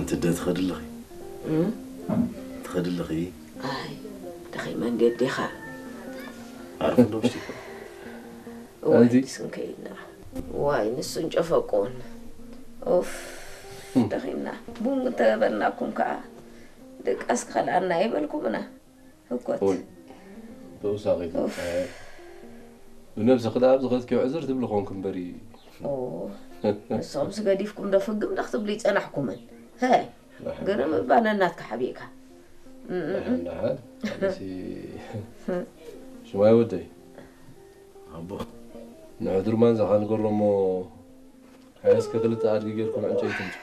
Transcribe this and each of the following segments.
ትደ ትኸድልኺ? ትኸድልኺ? ኣይ ደኺመ እንዴት ዲኻ? ዓርፊ እንዶ ውሽጢ እኮ። እዋይ ኣንቲ? ንስን ከይድና እዋይ ንሱን ጨፈቁን። ኡፍ ደኺምና። ቡን እንተበልናኩም ከዓ ድቃስ ክኸልኣና ይበልኩምና። ህኮት። ኡይ ተውሳኺ። ብነብስኺ ደኣ ኣብ ዝኸድክዮ ዕዝር ትብሊ ኾንክ እምበሪ። ንሶምስ ገዲፍኩም ዶ ፍግም ዶ ክትብሉ ይጸናሕኩምን? ግርም እባ ነናትካ ሓቢእካ። ደሓን ደሓን። ኣነሲ ሽማይ ወደይ። ኣቦ። ንሕድርማን ዘኻ ንገሮ እሞ ሓያስከ ክልተ ኣድጊ ጌርኩም ዕንጨይቲ ምጹ።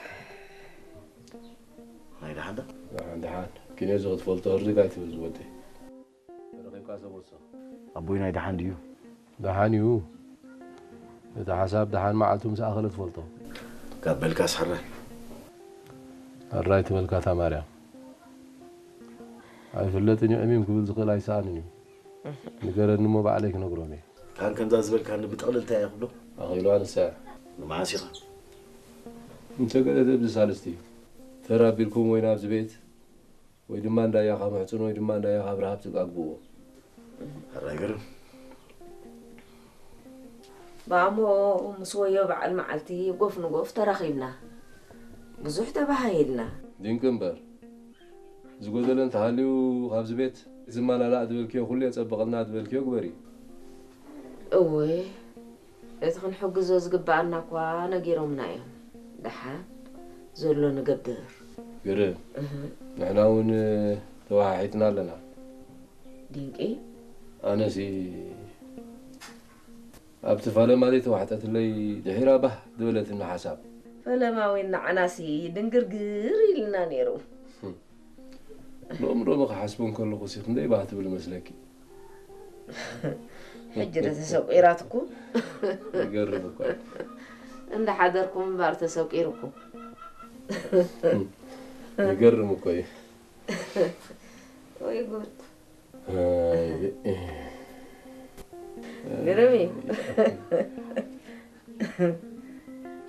ናይ ደሓን ዶ? ደሓን ደሓን። ኪኔዚ ክትፈልጦ ህርድግ ኣይትብል ዝወደይ። ተረኺብካ ሰብ ወሶ። ኣቦይ ናይ ደሓን ድዩ? ደሓን እዩ። እቲ ሓሳብ ደሓን መዓልቱ ምስ ኣኸለ ትፈልጦ። ካብ በልካስ ሕራይ። ሕራይ ትበልካ እታ ማርያም። ኣይፍለጥን እዩ ዕሚም ክብል ዝኽእል ኣይሰኣንን እዩ። ንገረኒ እሞ ባዕለይ ክነግሮም እየ። ካን ከምዛ ዝበልካኒ ብጥቕልልታ እየ ክብሎ። ኣኺሉ ኣንሳ። ንመዓስ ኢኻ? እንተ ገለ ተብዚ ሳልስቲ ተራ ኣቢልኩም ወይ ናብዚ ቤት ወይ ድማ እንዳያኻ ምሕጽን ወይ ድማ እንዳያኻ ኣብ ረሃብ ትጋግብዎ። ሕራይ ግርም። ባሞ ምስ ወዮ በዓል መዓልቲ ጎፍ ንጎፍ ተራኺብና። ብዙሕ ተባሃሂልና። ድንቂ እምበር ዝጎደለ እንተሃልዩ ካብዚ ቤት ዝመላላእ ዝበልክዮ ኩሉ የጸብቐልና ዝበልክዮ ግበሪ። እወ እቲ ክንሕግዞ ዝግብኣና እኳ ነጊሮምና እዮም። ደሓን ዘሎ ንገብር። ግርም ንሕና እውን ተወሓሒጥና ኣለና። ድንቂ ኣነሲ ኣብቲ ፈለማ ዘይተዋሕጠትለይ ድሒራ ባህ ዝበለትኒ ሓሳብ። ፈለማ እውን ንዓናሲ ድንግርግር ኢልና ነይሩ። ሎሚ ሎሚ ክሓስቦ እንከለኹ ሲ ክንደይ ባህ ትብል መስለኪ። ሕጂ ዶ ተሰቂራትኩም? ይገርም እኮ እዩ። እንዳሓደርኩም እምበር ተሰቂርኩም። ይገርም እኮ እዩ። ወይ ጉድ። ኣይ፣ ግርም እዩ።